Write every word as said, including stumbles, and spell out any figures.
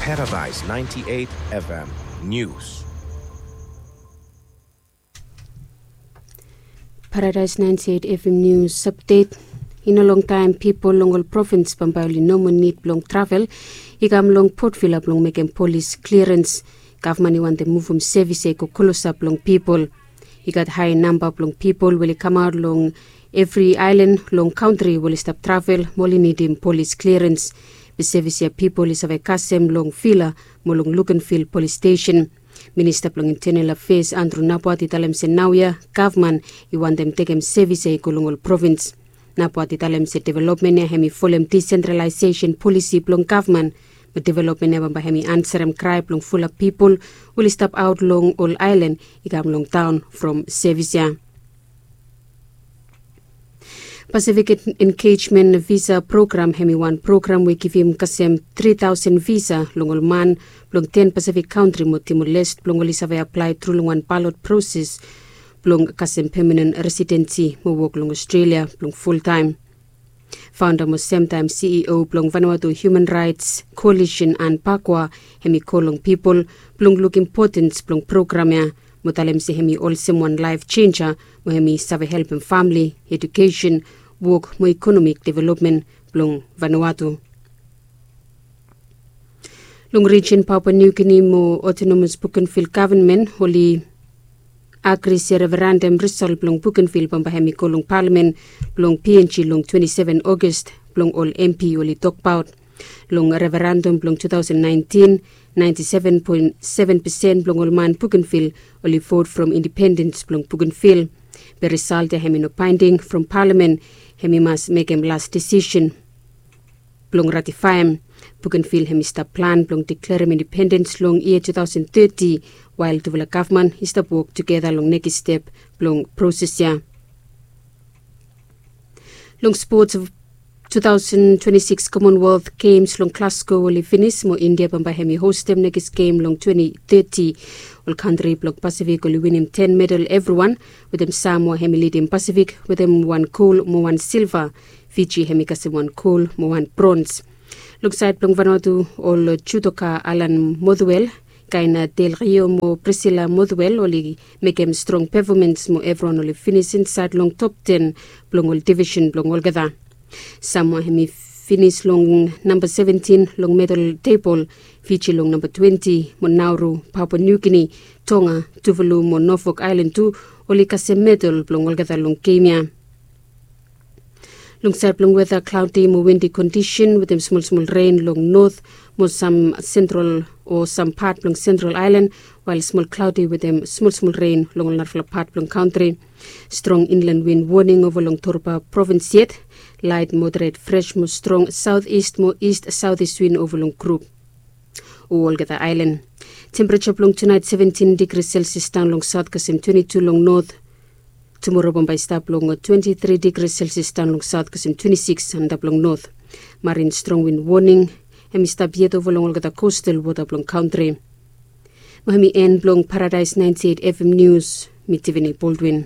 Paradise ninety-eight F M News. Paradise ninety-eight F M News update. I no longtaem pipol long ol provins bambae oli no moa nid blong travel i kam long Port Vila blong mekem polis kliarens. Gavman i wantem muvum sevis ya i go klosap long pipol. I gat hae namba blong pipol we oli kamaot long evri aelan long kantri we oli stap travel mo oli nidim polis kliarens. Be sevis ya pipol i save kasem long Vila mo long Luganville Polis Stesen. Minista blong Intenal Afeas Andrew Naboat i talem se naoia gavman i wantem tekem sevis ya i go long ol provins. Naboat i talem se developmen ya hem i folem disentralaesesen polisi blong gavman. Be developmen ya bambae hem i ansarem krae blong fulap pipol we oli stap aot long ol aelan i kam long taon from sevis ya. Pasifik Engejmen Visa Program hem i wan program we i givim kasem tri taosen visa long ol man blong ten Pasifik kantri mo Timor Leste blong oli save aplae tru long wan balot proses blong kasem pemanen residensi mo wok long Australia blong fultaem. Faonda mo semtaem C E O blong Vanuatu Human Raets Koalisen Anne Pakwa hem i kol long pipol blong luk impotens blong program ya mo talem se hem i olsem wan laef jenja mo hem i save helpem famle, ejukesen, wok mo ikonomik developmen blong Vanuatu. Long rijin Papua Niugini mo otonomas Bukenvil gavman oli agri se referandam risol blong Bukenvil bambae hem i go long palamen blong P N G long twenti seven Ogos blong ol M P oli tokbaot. Long referandam blong tu taosen naentin, naenti seven poen seven pesen blong ol man Bukenvil oli vot from indipendens blong Bukenvil. Be risalt ya hem i no baending from palamen, hem i mas mekem las desisen blong ratifaem. Bukenvil hem i stap plan blong deklarem indipendens long yia tu taosen teti, wael tufala gavman i stap wok tugeta long nekis step blong proses ya. Long spots, tu taosen twenti sikis Commonwealth Games long Glasgow oli finis mo India bambae hem i hostem nekis gem long twenti teti. Ol kantri blong Pasifik oli winim ten medal evriwan, wetem Samoa hem i lidim Pasifik wetem wan gol mo wan silva. Fiji hem i kasem wan gol mo wan brons. Long saed blong Vanuatu, ol judoka Alan Mothuel, Kaina Del Rio mo Priscilla Mothuel oli mekem strong pefomans mo evriwan oli finis insaed long top ten blong ol divisen blong olgeta. Samoa hem i finis long namba seventin long medal tebol, Fiji long namba twenti, mo Nauru, Papua Niugini, Tonga, Tuvalu mo Nofok Aelan tu oli kasem medal blong olgeta long gem ya. Long saed blong weta, klaodi mo windi kondisen wetem smolsmol ren long not mo sam sentral o sam pat blong Sentral Aelan, wael smol klaodi wetem smolsmol ren long ol narafala pat blong kantri. Strong inlan win woning ova long Torba provins yet. Laet moderet fres mo strong saotis mo ist saotis win ova long grup o olgeta aelan. Tempereja blong tunaet seventin digri Celsius daon long saot kasem twenti tu long not. Tumora bambae i stap long twenti tri digri Celsius daon long saot kasem twenti sikis antap long not. Marin strong win woning hem i stap yet ova long olgeta kostal wota blong kantri. Mo hem i en blong Paradaes naenti eit F M Nius. Mi Tivini Boldwin.